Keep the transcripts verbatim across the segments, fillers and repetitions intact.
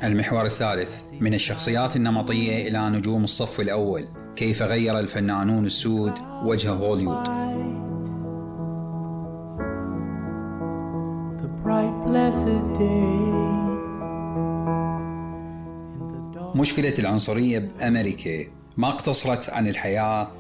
المحور الثالث: من الشخصيات النمطية إلى نجوم الصف الأول، كيف غير الفنانون السود وجه هوليوود. مشكلة العنصرية بأمريكا ما اقتصرت عن الحياة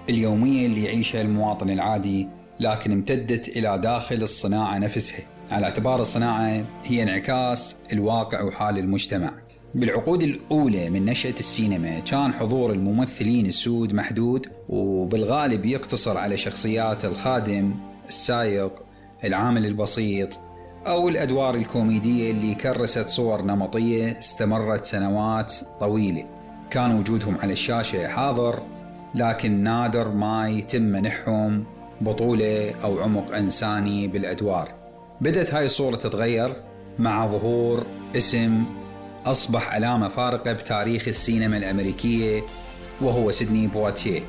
اليومية اللي يعيشها المواطن العادي، لكن امتدت إلى داخل الصناعة نفسها، على اعتبار الصناعة هي انعكاس الواقع وحال المجتمع. بالعقود الأولى من نشأة السينما كان حضور الممثلين السود محدود، وبالغالب يقتصر على شخصيات الخادم، السائق، العامل البسيط، أو الأدوار الكوميدية اللي كرست صور نمطية استمرت سنوات طويلة. كان وجودهم على الشاشة حاضر، لكن نادر ما يتم منحهم بطولة أو عمق إنساني بالأدوار. بدأت هاي الصورة تتغير مع ظهور اسم أصبح علامة فارقة بتاريخ السينما الأمريكية، وهو سيدني بواتيه.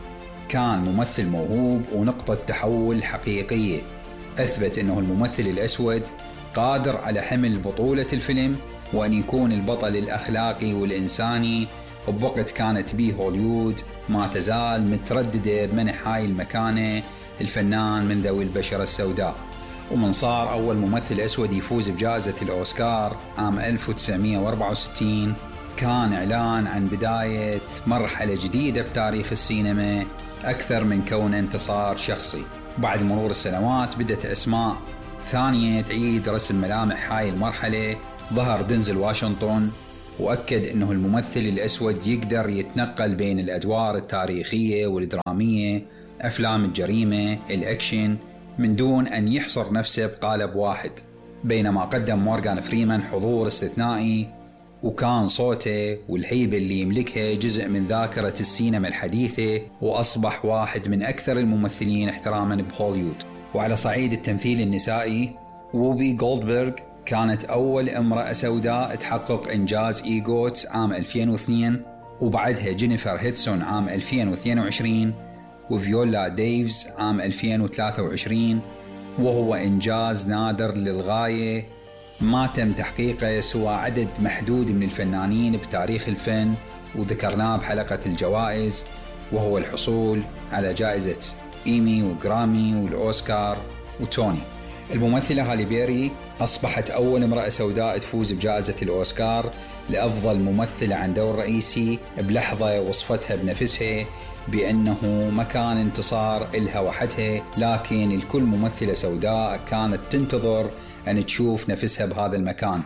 كان ممثل موهوب ونقطة تحول حقيقية، أثبت أنه الممثل الأسود قادر على حمل بطولة الفيلم وأن يكون البطل الأخلاقي والإنساني، وبوقت كانت بيه هوليوود ما تزال مترددة بمنح هاي المكانة الفنان من ذوي البشرة السوداء. ومن صار أول ممثل أسود يفوز بجائزة الأوسكار عام ألف وتسعمائة وأربعة وستين، كان إعلان عن بداية مرحلة جديدة بتاريخ السينما أكثر من كون انتصار شخصي. بعد مرور السنوات بدأت أسماء ثانية تعيد رسم ملامح هاي المرحلة. ظهر دينزل واشنطن وأكد أنه الممثل الأسود يقدر يتنقل بين الأدوار التاريخية والدرامية، أفلام الجريمة، الأكشن، من دون أن يحصر نفسه بقالب واحد. بينما قدم مورغان فريمان حضور استثنائي، وكان صوته والهيبة اللي يملكها جزء من ذاكرة السينما الحديثة، وأصبح واحد من أكثر الممثلين احتراما بهوليوود. وعلى صعيد التمثيل النسائي، ووبي جولدبرغ كانت أول امرأة سوداء تحقق إنجاز إيغوت عام ألفين واثنين، وبعدها جينيفر هيدسون عام ألفين واثنين وعشرين، وفيولا ديفز عام ألفين وثلاثة وعشرين، وهو إنجاز نادر للغاية ما تم تحقيقه سوى عدد محدود من الفنانين بتاريخ الفن، وذكرناه بحلقة الجوائز، وهو الحصول على جائزة إيمي وغرامي والأوسكار وتوني. الممثلة هالي بيري أصبحت أول امرأة سوداء تفوز بجائزة الأوسكار لأفضل ممثلة عن دور رئيسي، بلحظة وصفتها بنفسها بأنه ما كان انتصار إلها وحدها، لكن الكل ممثلة سوداء كانت تنتظر أن تشوف نفسها بهذا المكان.